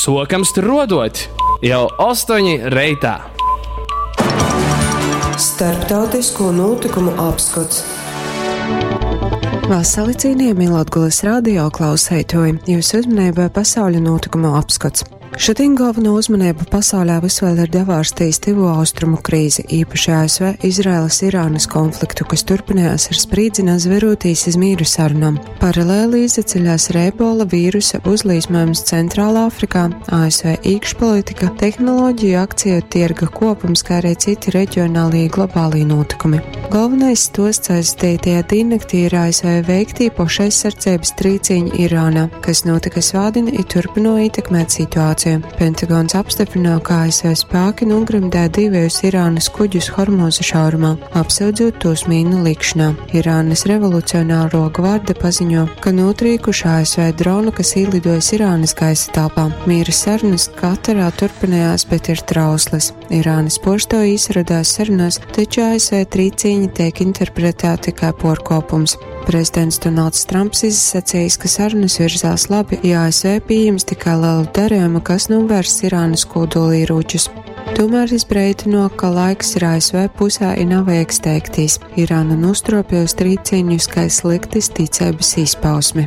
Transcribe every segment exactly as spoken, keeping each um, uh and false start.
Suokam struoduot jau ostoņi reitā. Starptautisko notikumu apskots. Vasali cienījamie Latgulas radio klausētoji, jūsu uzmanībai pasauļa notikumu apskats. Šodien galveno uzmanību pasaulē vis vēl ir devārstījis Tuvo Austrumu krīze, īpaši A S V Izraēlas Irānas konfliktu, kas turpinājās ar sprīdzinā zverotīs iz mīru sarunām. Paralēli izaceļās ar ebola vīrusa uzlīsmojums Centrālā Afrikā, A S V iekšpolitika, tehnoloģiju akciju tirga kopums, kā arī citi reģionālie globālie notikumi. Galvenais stosts aizdītajā diennaktī ir A S V veiktī pašaizsardzības trīciņi Irānā, kas notika svādien i turpino ietekmēt situāciju. Pentagons apstiprināja, ka A S V spēki nogremdē divējus Irānas kuģus Hormūza šaurumā, apsūdzot tos mīnu likšanā. Irānas revolucionāro gvarde paziņo, ka notrīkuši A S V dronu, kas ielidojas Irānas gaisa telpā. Miera sarunas Katarā turpinājās, bet ir trauslas. Irānas poštoji izradās sarunās, taču A S V trīcīņi tiek interpretēti kā porkopums. Prezidents Donalds Trumps izsacījis, ka sarunas virzās labi, ja A S V pieņems tikai lielu darījumu, kas novērs Irānas kodolieročus. Tomēr izbreidino, ka laiks ir A S V pusē i nav vajag steigtīs. Irāna nostropējusi trīcīņus kā sliktas ticības izpausmi.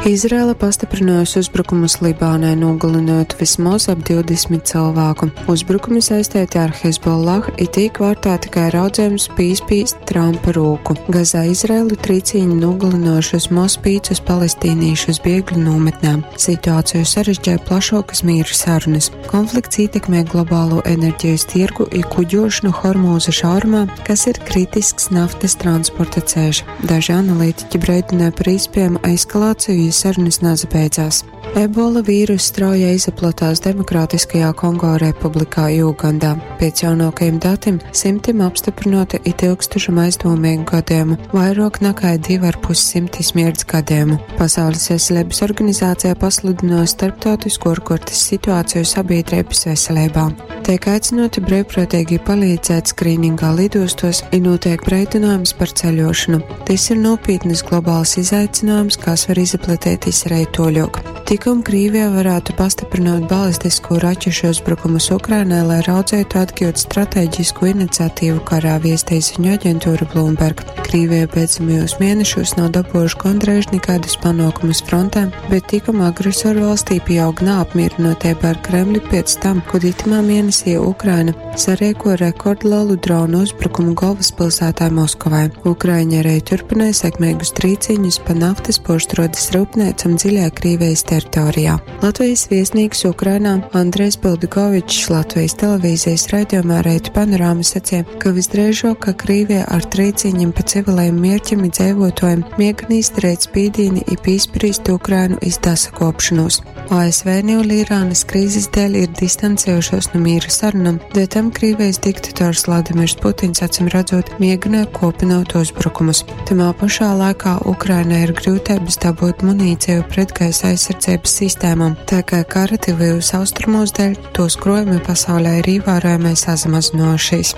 Izraela pastiprinājusi uzbrukumus Libānai, nogalinot vismaz ap divdesmit cilvēku. Uzbrukumi saistīti ar Hezbollah it tiek vērtēti kā raudzējums pīspīst Trumpa rūku. Gazā Izraelu trīcīņi nogalinoši vismaz piecus palestīniešus bēgļu nometnē. Situāciju sarežģīja plašākas mīra sarunas. Konflikts ietekmē globālo enerģijas tirgu i kuģošanu Hormūza šaurumā, kas ir kritisks naftas transporta ceļš. Daži analītiķi brīdināja par iespējamu eskalāciju, ja sarunas nezabeidzās. Ebola vīrus strauji izplatās Demokrātiskajā Kongo Republikā Ugandā. Pēc jaunākajiem datiem simtiem apstiprināti i tūkstošam aizdomīgu gadījumu, vairāk nekā divi ar pus simti smirds gadījumu. Pasaules veselības organizācija pasludināja starptautisku ārkārtas situāciju sabiedrības veselībā. Tiek aicināti brīvprātīgi palīdzēt skrīningā lidostos i notiek brīdinājums par ceļošanu. Tas ir nopietnas globāls izaicinājums, kas var izplatīties arī toļok. Tikom Krievija varētu pastiprināt balistisko raķešu uzbrukumus Ukrainai, lai raudzētu atgūt strateģisku iniciatīvu karā, viestīja ziņu aģentūra Bloomberg. Krievija pēdējos mēnešos nav dabūjuši gandrīz nekādus panākumus frontē, bet tikom agresoru valstī pieaug neapmierinātība ar Kremli pēc tam, kad itamā mēnesī Ukraina sarēko rekordlielu dronu uzbrukumu galvaspilsētā Moskovai. Ukraiņa arī turpināja sekmīgus trīciņus pa naftas porštrodas rūpniecam dziļā Krievijas teritorijā. Latvijas viesnīgs Ukrainā Andrejs Bildukovičs Latvijas televīzijas raidījumā Reitu panorāma sacīja, ka visdrīzāk, ka Krievija ar trīciņiem pa civilajiem mērķiem i dzīvotājiem mēģina izdarīt spīdīni i pīsprīst Ukrainu iz dasakopšanos. A S V niu Irānas krīzes dēļ ir distancējušos no miera sarunām, dēļ tam Krievijas diktators Vladimirs Putins acīm redzot mēģināja kopinot uzbrukumus. Tamā pašā laikā Ukrainai ir grūtības dabūt munīciju pretgaisa aizsardzības sistēmām, tā kā kara tuvajos austrumos dēļ tos krojumi pasaulē ir ievērojami sazamazinojušies.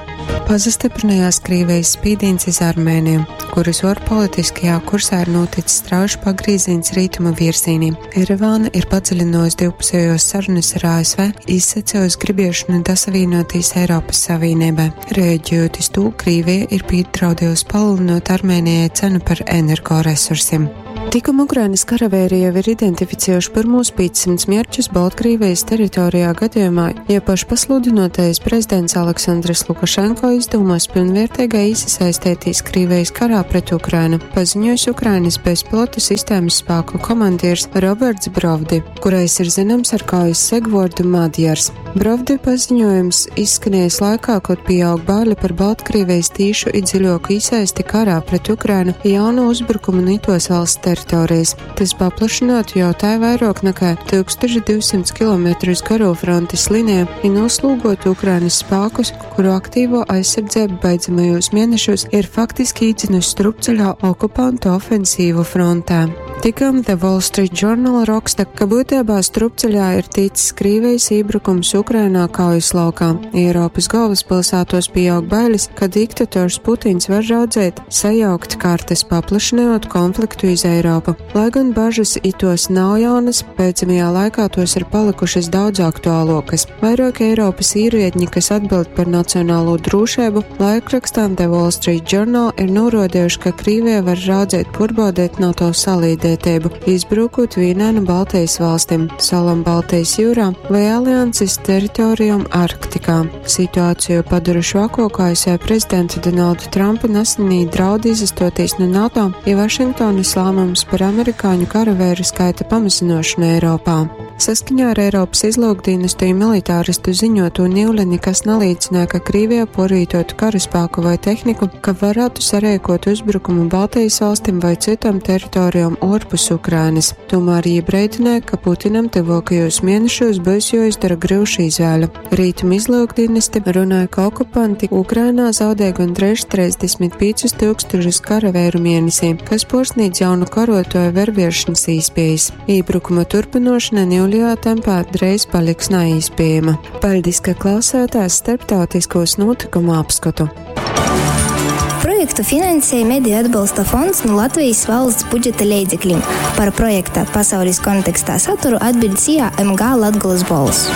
Pazastiprinājās Krievijas spīdīns iz Armēniju, kuras ārpolitiskajā kursā ir noticis strauji pagrieziens rietumu virzienī. Erevāna ir padziļinājusi divpusējos sarunas ar A S V, izsacījusi gribiešanu dasavienoties Eiropas Savienībai. Rēģējot uz to, Krievija ir piedraudējusi palielinot Armēnijai cenu par energoresursiem. Tikom Ukrainas karavēri jau ir identificējuši pirmos piecsimts mērķus Baltkrievijas teritorijā gadījumā, ja pašpasludinotais prezidents Aleksandrs Lukašenko izdomās pilnvērtīgai iesaistīties Krievijas karā pret Ukrainu, paziņojis Ukrainas bezpilota sistēmas spēku komandieris Roberts Brovdi, kurais ir zināms ar kaujas segvordu Madjars. Brovdi paziņojums izskanējis laikā, kad pieaug bāļa par Baltkrievijas tīšu i dziļāku iesaisti karā pret Ukrainu jaunu uzbrukumu Nitos valsts teritorijas. Tas paplašinātu jau tā vairāk nekā tūkstoš divsimt kilometrus garo frontes līniju i noslūgotu Ukrainas spēkus, kuru aktīvo aizsardzību beidzamajos mēnešos ir faktiski īdzinusi strupceļā okupantu ofensīvu frontē. Tikam The Wall Street Journal raksta, ka būtībā strupceļā ir ticis Krievijas iebrukums Ukrainā kaujas laukā. Eiropas galvaspilsētos pieaug bailes, ka diktators Putins var raudzēt sajaukt kartes, paplašinot konfliktu iz Eiropu. Lai gan bažas itos nav jaunas, pēcamajā laikā tos ir palikušas daudz aktuālokas. Vairāk Eiropas īriedņi, kas atbild par nacionālo drošību, laikrakstām The Wall Street Journal ir norodījuši, ka Krīvija var raudzēt porbaudēt NATO salīdētību, izbrukot vienā no Baltijas valstīm, salam Baltijas jūrā vai alianses teritorijām Arktikā. Situāciju padara švako A S V prezidenta Donalda Trumpa nesenī draudi izastoties no NATO, ja Vašingtonas lēmums par amerikāņu karavēru skaita pamazinošanu Eiropā. Saskaņā ar Eiropas izlūkdienestu militāristu ziņoto niule nekas neliecināja, ka Krievija porītotu karaspēku vai tehniku, ka varētu sarēkot uzbrukumu Baltijas valstīm vai citam teritorijām orpus Ukrainas. Tomēr iebrēdināja, ka Putinam tuvākajos mēnešos būs jāizdara grūša izvēle. Rītum izlūkdienesti runāja, ka okupanti Ukrainā zaudē gandrīz trīsdesmit piecus tūkstošus karavēru mēnesī, kas porsnīdz jaunu karotoju verviešanas īspējas. Iebrukuma turpinošana niuļajā tempā drīz paliks neīspējama. Paldies, ka klausātās starptautiskos notikumu apskatu. Projektu finansēja Mediju atbalsta fonds no Latvijas valsts budžeta leidzekļiem. Par projekta pasaules kontekstā saturu atbild SIA M G Latgolas Bolss.